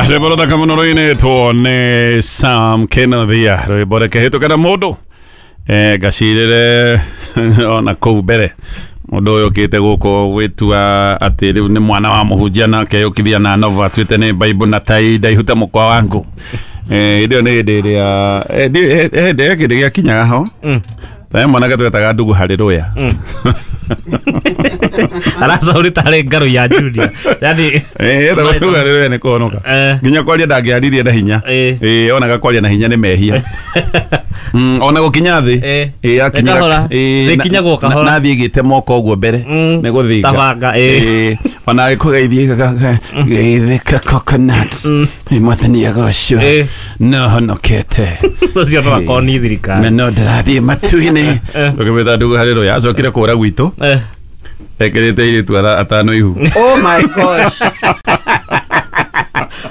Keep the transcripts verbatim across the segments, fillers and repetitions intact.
Rwĩmbo rũthaka mũno rũinĩtwo nĩ Sam Kenothia, rwĩmbo reke na mũndũ eh ngacirĩre ona kũu mbere mũndũ ũyũ ũkĩte gũkũ gwĩtua atĩ rĩu nĩ mwana wa mũhunjia na akeyũkithia na novo atuĩte nĩ Bible na tai ndaihute mũkwa wangu. Eh ĩyo nĩ hĩndĩ ĩrĩa hĩndĩ kĩndũ gĩakinyaga ho ta mwanake twetaga ndugu harĩ rũya aracauri tarĩ ngarũ ya Junior yani eh etagwo ndugu harĩ rũya nĩ kũhonoka nginya kwaria ndangĩaririe na hinya eh onaga kwaria na hinya nĩ mehia. Mm, ona gũkinya thĩ eh akinyira eh nĩkinyagwo kahora na thiĩ gĩte moko ũguo mbere nĩ gũthinga tabanga eh ona gĩkũgeithie geithĩka coconut mwathani agocwo no honokete ũcio no akorwo nĩ thirikari na no ndĩrathiĩ matu-inĩ tũkĩmwĩta ndugu harĩ rũya acokire kũra gwitũ ekĩrĩte airĩtu atano ihu. Oh my gosh.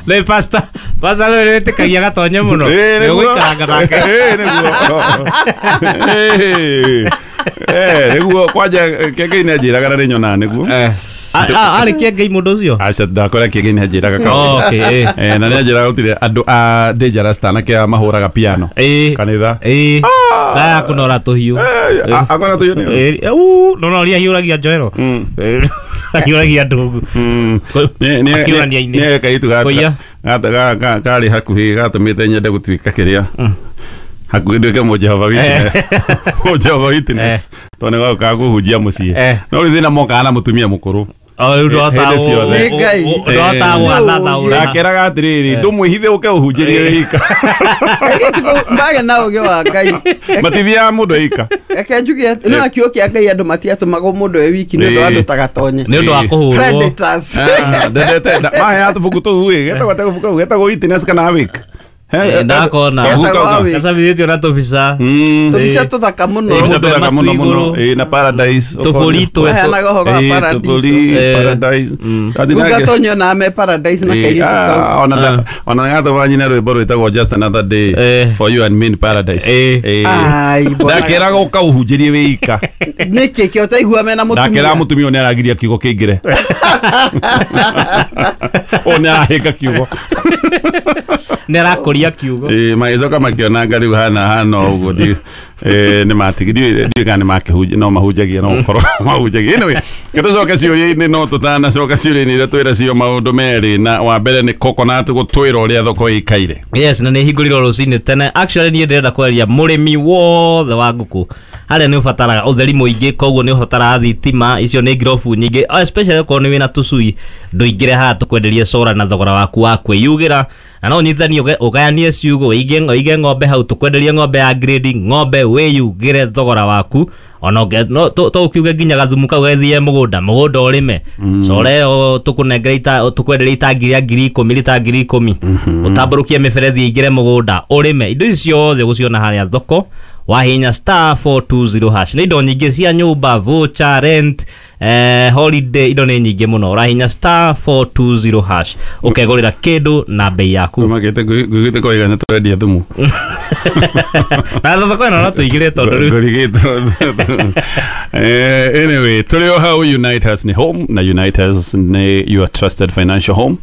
Le pasta pasta rä rä tä kagia gatonye må no nä gå ikaranga nake nä guo kwanja kĩengei nä anjä raga na nä nyonaga nä guo arä kĩengei må ndå å cio aca ndakora kĩengei nä anjä raga na nä anjä raga gũtirĩ andũ a dangerous tanake a mahũraga piano kanitha na kå nora tå hiå akona tå hiå no no ria hiũragia njoero ahiũragia ndũngũ nĩ kairĩtu karĩ hakuhĩ gatũmĩte nyende gũtuĩka kĩrĩa hakuhĩ nduĩke mũjehova Witness mũjehova Witness tondũ nĩ gokaga kũhunjia mũciĩ no rĩu thĩna mokaga na mũtumia mũkũrũ ndakeraga atĩrĩrĩ ndũmwĩhithe ũke ũhunjĩrie wĩika mbaga na ũgĩ wa Ngai matithiaga mũndũ eika reke njuge no akiugo kĩa Ngai andũ matiatũmagwo mũndũ e wiki nĩ ũndũ wa andũ ta gatonye nĩ ũndũ wa kũhũrwo predators ndendete maheaga tũbuku tũu ĩ getagwo atĩa gabuku kau getagwo Witness kana Awake ndakona gacabithĩtio na tũbica tũbica tũthaka mũno tũbica tũthaka mũno mũno ĩ na paradise tũbũri tũheanaga ũhoro wa paradise paradise gatonyo na me paradise na kairĩtu kau ona ona gatũma nyina rwĩmbo rwĩtagwo Just Another Day for You and Me in Paradise. Ndakeraga ũka ũhunjĩrie wĩika nĩkĩ kĩo ũtaigua mena mũtumia ndakeraga mũtumia ũyũ nĩ aragiria kiugo kĩingĩre ũyũ nĩ arahĩnga kiugo nĩ arakũria kiugo eh magĩcoka makĩona rĩu hana hana ũguo nĩ matigire ndiũĩ kana nĩ makĩhunjia no mahunjagia no gũkorwo mahunjagia anyway gĩtũcoke ciũria-inĩ no tũtanacoka ciũria-inĩ iria twĩra cio maũndũ merĩ na wa mbere nĩ coconut gũtwĩra ũrĩa thoko ĩikaire. Yes na nĩ hingũrirwo rũcinĩ tene actually niĩ ndĩrenda kwaria mũrĩmi wothe wa ngũkũ harĩa nĩ ũbataraga ũtheri mũingĩ koguo nĩ ũbataraga thitima icio nĩ ngirobu nyingĩ especially okorwo nĩ wĩna tũcui ndũingĩre haha tũkwenderie cora na thogora waku wa kwĩyugĩra na no ũnyitithanie ũgayanie ciugũ ũige ũige ng'ombe hau tũkwenderie ng'ombe ya grade ng'ombe wĩyugĩre thogora waku ona no tũkiuge nginya gathumu kau gagĩthiĩ mũgũnda mũgũnda ũrĩme cora ĩyo tũkũnengere ita tũkwenderie itangi rĩa ngiri ikũmi rita ngiri ikũmi ũtambũrũkie mĩberethi ĩingĩre mũgũnda ũrĩme indo ici ciothe ũgũciona harĩa thoko wahinya star four two zero hash nĩ indo nyingĩ cia nyũmba voucher rent eh, holiday indo nĩ nyingĩ mũno ũrahinya star four two zero hash ũkegũrĩra kĩndũ na bei yaku ũmakĩte ngũigĩte koiga nĩ tũrendia thumu na thoko ĩno no tũigĩre tondũ rĩu ngũrigĩtwo. Anyway tũrĩ o hau Unitas nĩ home na Unitas nĩ your trusted financial home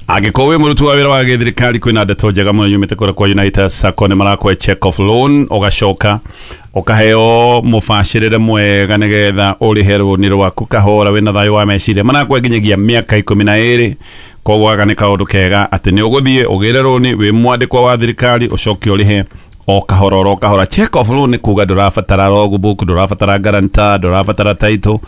angĩkorwo wĩ mũruti wa wĩra wa gĩthirikari kwĩna ndeto njega mũno yumĩte kũrĩa kwa Unitas Sacco nĩ marakũhe check off loan ũgacoka ũkaheo mũbacĩrĩre mwega nĩgetha ũrĩhe rũni rwaku kahora wĩna thayũ wa meciria marakũhe nginyagia mĩaka ikũmi na ĩrĩ koguo gaka nĩ kaũndũ kega atĩ nĩ ũgũthiĩ ũgĩre rũni wĩ mwandĩkwa wa thirikari ũcoke ũrĩhe o kahora oro kahora check off loan nĩ kuga ndũrabatara logbook ndũrabatara guarantor ndũrabatara title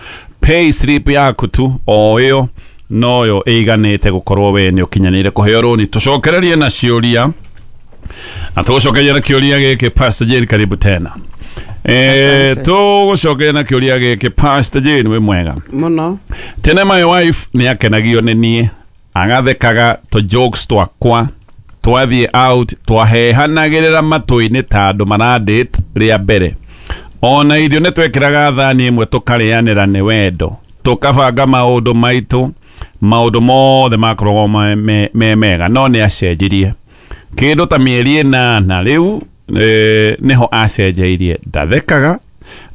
pay slip yaku tu o ĩyo noyo ĩiganĩte gũkorwo we nĩ ũkinyanĩire kũheo rũni tũcokererie na ciũria na tũgũcokeria na kĩũria gĩkĩ Pastor Jane karibu tena eh tũgũcokeria na kĩũria gĩkĩ Pastor Jane wĩ mwega mũno tene my wife nĩ akenagio nĩ niĩ agathekaga tũ jokes twakwa twathiĩ out twahehanagĩrĩra matũ-inĩ ta andũ maradate rĩa mbere ona irio nĩ twekĩraga thani ĩmwe tũkarĩanĩra nĩ wendo tũkabanga maũndũ maitũ maũndũ mothe makoragwo me, me mega no nĩ acenjirie kĩndũ ta mĩeri ĩnana rĩu e, nĩho acenjeirie ndathekaga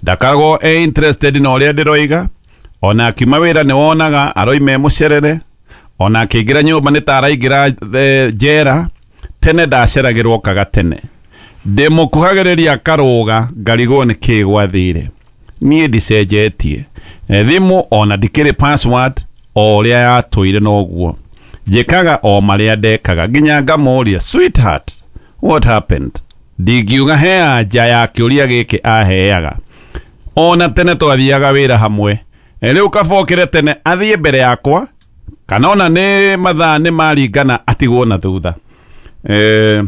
ndakaragwo e interested na ũrĩa ndĩroiga ona akiuma wĩra nĩ wonaga aroima e mũcerere Ona akĩingĩra nyũmba nĩ ta araingĩra eh, njera. Tene ndaceragĩrwo kaga tene. Ndĩmũkuhagĩrĩria karũga ngarigwo nĩ kĩ gwathire. Niĩ ndicenjetie. Eh, thimũ ona ndikĩrĩ password o ũrĩa yatũire noguo. Njĩkaga o marĩa ndekaga nginya ngamũria, sweetheart, what happened? Ndingiuga he anja ya kĩũria gĩkĩ aheaga. Ona tene twathiaga wĩra hamwe. Eh, rĩu kabokĩre tene athiĩ mbere yakwa kana ona nĩ mathaa nĩ maringana atigwo na thutha. Eh,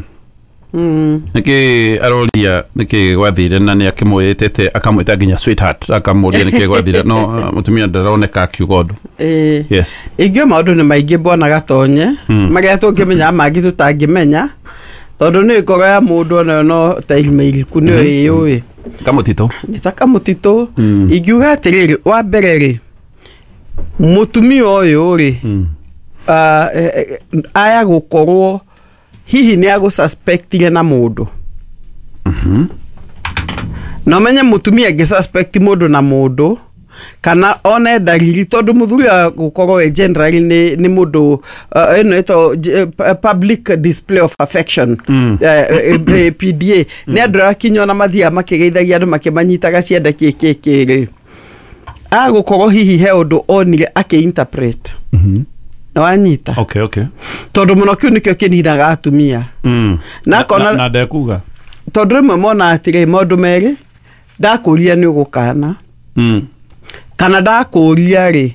Mm. nĩkĩ aroria nĩkĩ gwathire na nĩ akĩmwĩtĩte akamwĩta nginya sweetheart akamũria nĩkĩ gwathire no uh, mũtumia ndaroneka akiuga ũndũ. Ĩĩ. Yes. Ingĩo maũndũ nĩ maingĩ bwana Gatonye marĩa tũngĩmenya mangĩ tũtangĩmenya tondũ nĩ ngoro ya mũndũ onayo no ta irima iriku nĩyo ĩyũĩ. Kamũtitũ. Nĩ ta kamũtitũ. Ingiuga atĩrĩrĩ, wa mbere rĩ, mũtumia ũyũ rĩ, ah, eh, eh, aya gũkorwo hihi nĩ agũsuspectire na mũndũ. Na ũmenye mũtumia angĩ suspect mũndũ na mũndũ kana one ndariri tondũ mũthuri wa gũkorwo we generally nĩ nĩ mũndũ uh, ĩno ĩtagwo j- eh, public display of affection, Mm. eh, eh, eh, P D A, nĩ andũ arĩa kinya ona mathiaga makĩgeithagia andũ makĩmanyitaga ciande kĩ kĩ kĩ rĩ, agũkorwo hihi he ũndũ onire akĩ-interpret na wanyita. Okay, okay. Tondũ mũno kĩu nĩkĩo kĩninaga atumia. Mm. Na akona- na, na ndekuga. Tondũ rĩmwe mona atĩrĩ, maũndũ merĩ, ndakũria nĩ ũgũkana Mm. kana ndakũria rĩ,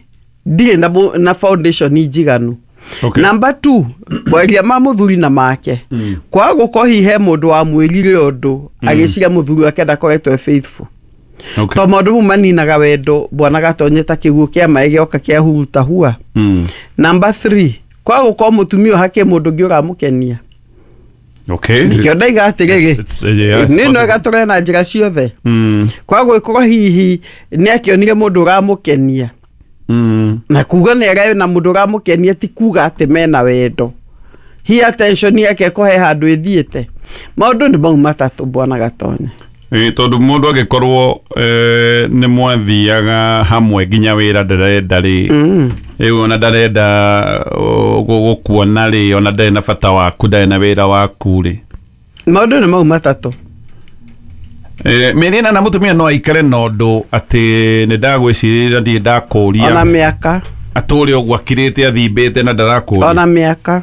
ndirĩ na, mũ- na foundation njiganu. Okay. Number two, mwaria ma mũthuri na make Mm. kwaga gũkorwo hihi he mũndũ wamwĩrire ũndũ agĩciria mũthuri wake ndakoretwo e faithful. Okay. To maũndũ mau maninaga wendo bwana Gatonye ta kĩguũ kĩa maĩ gĩoka kĩa huruta hua. Mm. Number three, kwaga gũkorwo mũtumia ũyũ hakĩ mũndũ ũngĩ ũramũkenia. Okay. Nĩkĩo ndaiga atĩrĩrĩ, It's- it's- yeah, it's nĩ possible. nwega tũre na njĩra ciothe. Mm. Kwaga gũgĩkorwo hihi nĩ akĩonire mũndũ ũramũkenia Mm. na kuga nĩ arĩ na mũndũ ũramũkenia ti kuga atĩ mena wendo, hi attention yake ĩko he handũ ĩthiĩte. Maũndũ nĩ mau matatũ bwana Gatonye. Ĩ, tondũ mũndũ angĩkorwo eh, nĩ mwathiaga hamwe nginya wĩra ndarenda rĩ, Mm. rĩu ona ndarenda uh, gũ- gũkuona rĩ, ona ndarĩ na bata waku, ndarĩ na wĩra waku rĩ. Maũndũ nĩ mau matatũ. Eh, mĩeri ĩnana mũtumia no aikare na ũndũ atĩ nĩ ndagwĩcirĩria ndirĩ Ona ndakũria mĩaka. Atũre ũguo akirĩte athimbĩte na ndarakũria. Ona mĩaka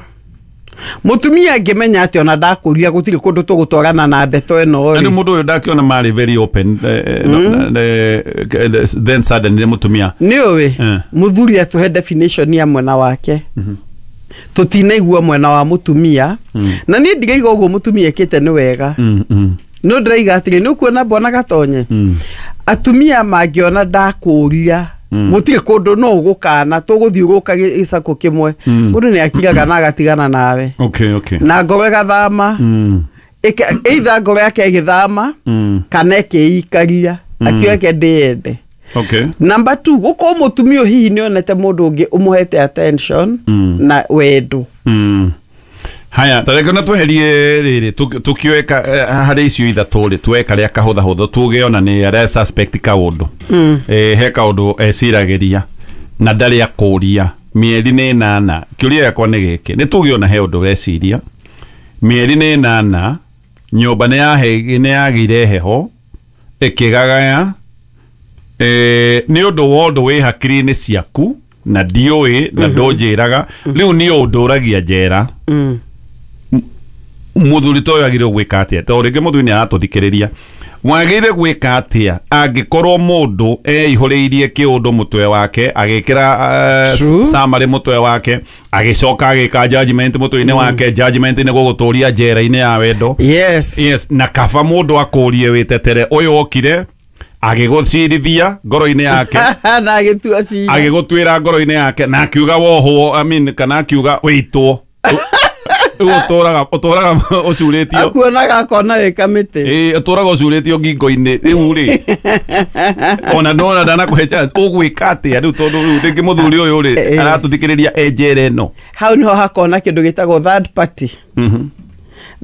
mũtumia angĩmenya atĩ ona ndakũria gũtirĩ kũndũ tũgũtwarana na ndeto ĩno Na rĩ. rĩu mũndũ ũyũ ndakĩona marĩ very open, eh, eh, no, eh, eh, then suddenly mũtumia Nĩ ũĩ Eh. mũthuri atũhe definition ya mwena wake, tũtinaigua mwena wa mũtumia, na niĩ ndiraiga ũguo mũtumia ĩkĩte nĩ wega. Mm, mm, No ndĩraiga atĩrĩ, nĩ ũkuona bwana Gatonye, mm. atumia mangĩona ndakũria gũtirĩ kũndũ no ũgũkana tũgũthiũrũrũka gĩcakũ kĩmwe, Mm. mũndũ nĩ akiraga na agatigana nawe okay okay na ngoro ĩgathama. mm, Ĩka- either ngoro yake ĩgĩthama mm. kana ĩkĩikaria akiuga ke ndĩyende. Okay. Number two, gũkorwo mũtumia ũyũ hihi nĩonete mũndũ ũngĩ ũmũhete attention Mm. na wendo. Mm. Haya, tareke na tweherie rĩrĩ tũkĩoe harĩ icio ithatũ rĩ, tuoe karĩa kahũthahũthũ tuge ona nĩ arĩa suspect kaũndũ. Mm. Eh, he kaũndũ eciragĩria na ndarĩ akũria mĩeri nĩ ĩnana. Kĩũria gĩakwa nĩ gĩkĩ, nĩ tuge ona he ũndũ ũreciria mĩeri nĩ ĩnana, nyũmba nĩ yahe- nĩ yagĩire heho ĩkĩgagaya, eh, nĩ ũndũ wa ũndũ wĩ hakiri-inĩ ciaku na ndiũĩ na ndũnjĩraga, rĩu nĩ ũndũragia njera. Mm. Mũthuri ta ũyũ agĩrĩirwo gwĩka atĩa? Tondũ rĩngĩ mũthuri nĩ aratũthikĩrĩria, wagĩrĩire gwĩka atĩa angĩkorwo mũndũ eihũrĩirie kĩũndũ mũtwe wake agĩkĩra uh, True. summary mũtwe wake, agĩcoka agĩka judgment mũtwe-inĩ wake, judgment nĩ gũgũtũria njera-inĩ ya wendo? Yes. Yes, na kaba mũndũ akũrie wĩtetere ũyũ okire agĩgũcirithia ngoro-inĩ yake na agĩtua cira. Agĩgũtuĩra ngoro-inĩ yake na akiuga wohwo, I mean, kana akiuga wĩitwo. Rĩu ũtũraga ũtũraga ũcurĩtio. Akuonaga akona wĩ kamĩtĩ. Ĩĩ, ũtũraga ũcurĩtio ngingo-inĩ rĩu rĩ, ona nona ndanakũhe chance, ũgwĩka atĩa rĩu? Tondũ rĩu rĩngĩ mũthuri ũyũ rĩ Ĩĩ. aratũthikĩrĩria e njera ĩno. Hau niho hakona kĩndũ gĩtagwo third party. Mhm.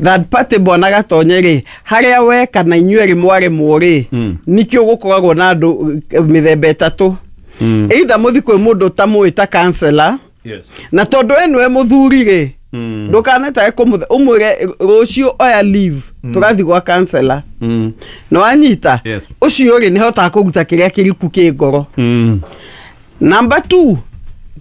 Third party bwana Gatonye rĩ, harĩa we kana inyuĩ erĩ mwarĩmwo rĩ, Mm. nikĩo gũkoragwo na andũ eh, mĩthemba ĩtatũ. Mm. Either mũthi kwĩ mũndũ ũtamũĩ ta counselor. Yes. Na tondũ we nĩwe mũthuri rĩ, Mm. ndũkanetae kũmũthe ũmwĩre rũciũ oya leave, tũrathiĩ gwa counselor. Mm. Nĩ wanyita? Yes. Ũcio rĩ, nĩ hotaga kũruta kĩrĩa kĩriku kĩ ngoro. Mm. Number two,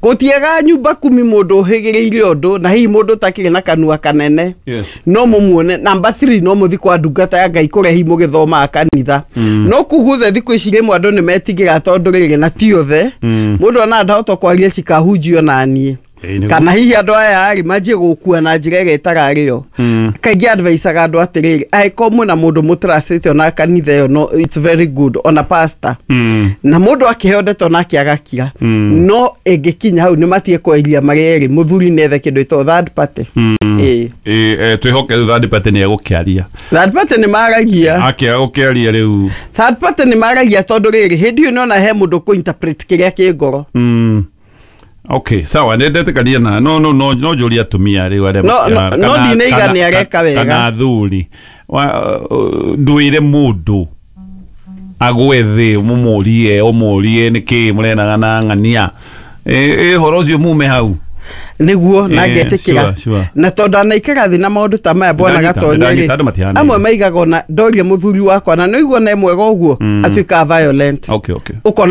gũtiega nyumba kumi mũndũ ũhĩgĩrĩire ũndũ na hihi mũndũ ũtakĩrĩ na kanua kanene. Yes. No mũmuone. Number three, no mũthi kwa ndungata ya Ngai kũrĩa hihi mũgĩthomaga kanitha. Mm. No kuu guothe thikũ ici rĩmwe andũ nĩ metigĩra tondũ rĩrĩ na ti othe. Mm. Mũndũ ona ndahota kwaria cikahunjio naniĩ, Ĩĩ, nĩguo. kana hihi andũ aya rĩ manjie gũkua na njĩra ĩrĩa ĩtararĩ yo. Mm. Kaingĩ advisaga andũ atĩrĩrĩ, angĩkorwo mwĩna mũndũ mũtracĩte ona kanitha ĩyo, no it's very good, ona pastor, Mm. na mũndũ akĩheo ndeto nake agakira. Mm. No ĩngĩkinya hau nĩ matige kweria marĩ erĩ, mũthuri nĩ ethe kĩndũ ĩtagwo third party. Mm. Ĩĩ. Ĩ, eh, twĩhoke third party nĩ egũkĩaria. Third party nĩ maragia. Akĩaga gũkĩaria rĩu. Third party nĩ maragia tondũ rĩrĩ, hĩndĩ ĩyo nĩona he mũndũ kũ interpret kĩrĩa kĩ ngoro. Mm. Okay, sawa, nĩ ndetĩkania na no no no no njũrie atumia rĩu arĩa No, makĩara- no, no kana- ndinaiga kana- nĩ areka wega. kana athuri. Wa- uh, ndwĩre mũndũ agwe thĩ mũmũrie ũmũrie nĩkĩ mũrenaga na ng'ania. Ĩ ũhoro ũcio mume hau. Nĩguo na Eh, ngetĩkĩra. sure, sure. Na tondũ anaikara thĩ na maũndũ ta maya, bwana Ndanyita, Gatonye ndanyita, rĩ, andũ matihanaine. amwe maigaga ona ndoria mũthuri wakwa na nĩũigua na mwega ũguo, atuĩkaga violent. Okay, okay. Ũkona.